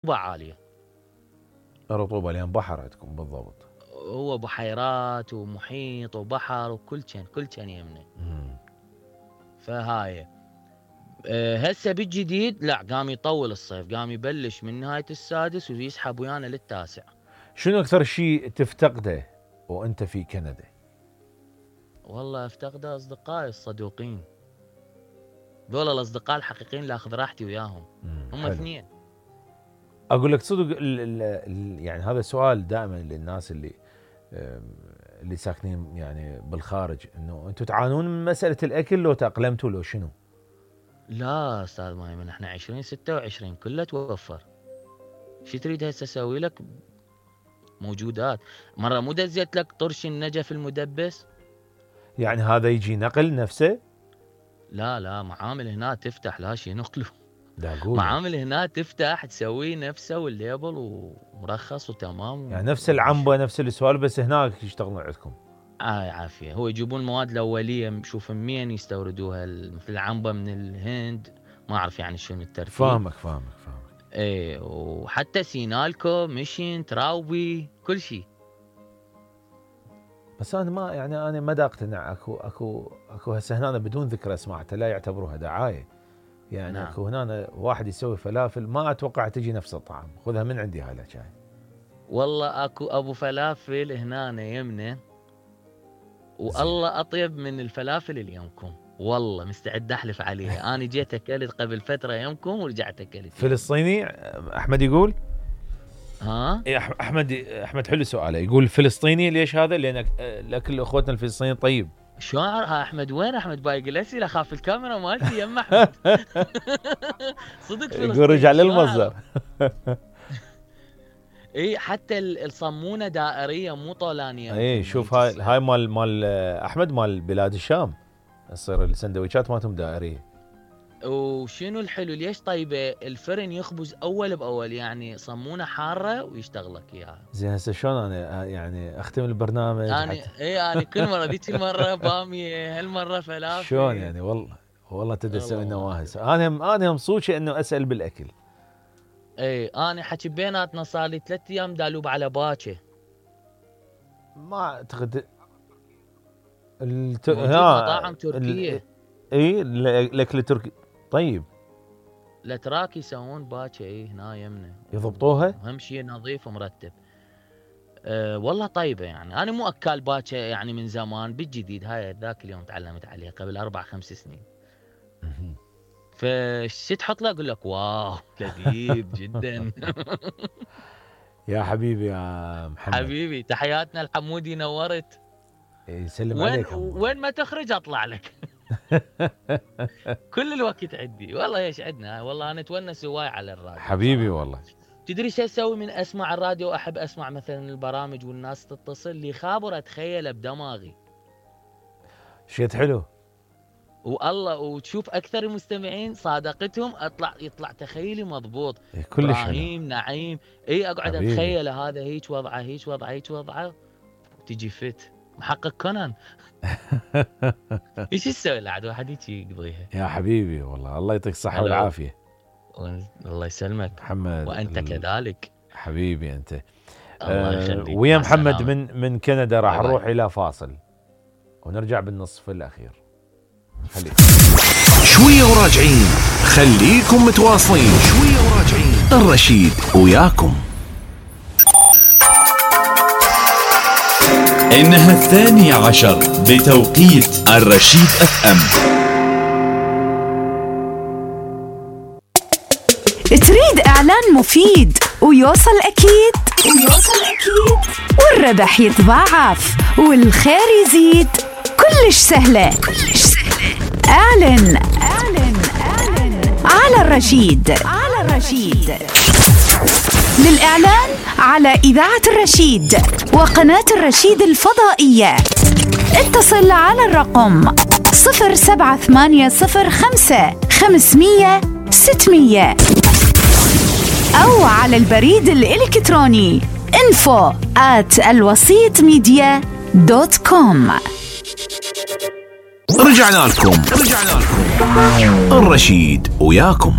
عالية. رطوبة لأن بحر عندكم بالضبط. هو بحيرات ومحيط وبحر وكل كان يمنا. فهاي هسه بالجديد لا قام يطول الصيف، قام يبلش من نهاية السادس ويسحب ويانا للتاسع. شنو أكثر شيء تفتقده وأنت في كندا؟ والله افتقده أصدقائي الصدوقين، دول الأصدقاء الحقيقيين اللي أخذ راحتي وياهم. هم اثنين. أقول لك صدق يعني هذا سؤال دائما للناس اللي ساكنين يعني بالخارج، إنه أنتم تعانون من مسألة الأكل لو تأقلمتوا لو شنو؟ لا أستاذ مايمن، احنا 2026 كله توفر. شو تريد هسه أسوي لك؟ موجودات. مرة مو دزيت لك طرش النجف المدبس؟ يعني هذا يجي نقل نفسه؟ لا معامل هنا تفتح، لا شي نقله. معامل هنا تفتح تسوي نفسه والليبل ومرخص وتمام. يعني نفس العنبة نفس السوالف، بس هناك يشتغلون عندكم. عافية. هو يجيبون المواد الأولية، شوف منين يستوردوها، مثل العنبة من الهند، ما أعرف يعني شنو الترتيب. فاهمك. ايه، وحتى سينالكو مشين تراوبي كل شيء. بس انا ما دا اقتنع. اكو هسه هنا بدون ذكر اسماء لا يعتبروها دعايه يعني. نعم. اكو هنا واحد يسوي فلافل ما اتوقع تجي نفس الطعم، خذها من عندي هلا شاي. والله اكو ابو فلافل هنا يمنا والله اطيب من الفلافل اللي يمكم، والله مستعد احلف عليها. انا جيت اكلت قبل فتره يمكم ورجعت اكلت. فلسطيني احمد يقول؟ ها احمد حلو سؤاله. يقول فلسطيني ليش هذا؟ لان الاكل اخوتنا الفلسطينيين طيب. شو احمد؟ وين احمد بايق الاسئله؟ اخاف الكاميرا مالتي يم احمد. صدق فلسطيني. يقول رجع للمصدر. اي حتى الصمونه دائريه مو طولانيه. اي شوف هاي مال احمد مال بلاد الشام، تصير السندويشات مالتهم دائريه. وشنو الحلو ليش طيبه؟ الفرن يخبز اول باول، يعني صمونه حاره ويشتغل لك اياها. زين هسه شلون انا يعني اختم البرنامج؟ انا كل مره ذيك المره باميه، هالمره فلافل. شلون يعني؟ والله تدسوا لنا واهس. انا مصوشي انه اسال بالاكل. اي انا حكي بيناتنا صار لي 3 ايام دالوب على باكه. ما اعتقد مطاعم تركيه. اي الاكل التركي طيب. الاتراك يسوون باكه اي هنا يمنا يضبطوها، اهم شيء نظيف ومرتب. والله طيبه يعني. انا مو اكال باكه يعني من زمان، بالجديد هاي ذاك اليوم تعلمت عليها قبل 4-5 سنين. فشي تحط له اقول لك واو لذيذ جدا. يا حبيبي يا محمد. حبيبي تحياتنا الحمودي، نورت. يسلم عليك. وين ما تخرج اطلع لك. كل الوقت عندي والله. ايش عندنا والله. انا اتونس هواي على الراديو حبيبي والله. تدري شو اسوي من اسمع الراديو؟ احب اسمع مثلا البرامج والناس تتصل لي خابر اتخيله بدماغي. شيء حلو والله. وتشوف اكثر المستمعين صادقتهم يطلع تخيلي مضبوط. ابراهيم نعيم اي اقعد اتخيل هذا هيك وضعه هيك وضعه تجي فت محقق كونان. ايش تسوي لعد واحد هيك يقضيها. يا حبيبي والله الله يعطيك الصحه والعافيه. الله يسلمك محمد. وانت كذلك حبيبي انت. الله يخليك. ويا محمد من كندا راح نروح الى فاصل ونرجع بالنصف الاخير. خليك شويه وراجعين، خليكم متواصلين. شويه وراجعين، الرشيد وياكم. إنها 12 بتوقيت الرشيد FM. تريد إعلان مفيد ويوصل أكيد والربح يتضاعف والخير يزيد، كلش سهلة. اعلن على الرشيد. للإعلان على إذاعة الرشيد وقناة الرشيد الفضائية اتصل على الرقم 07805 أو على البريد الإلكتروني info@alwasitmedia.com. رجعنا لكم الرشيد وياكم.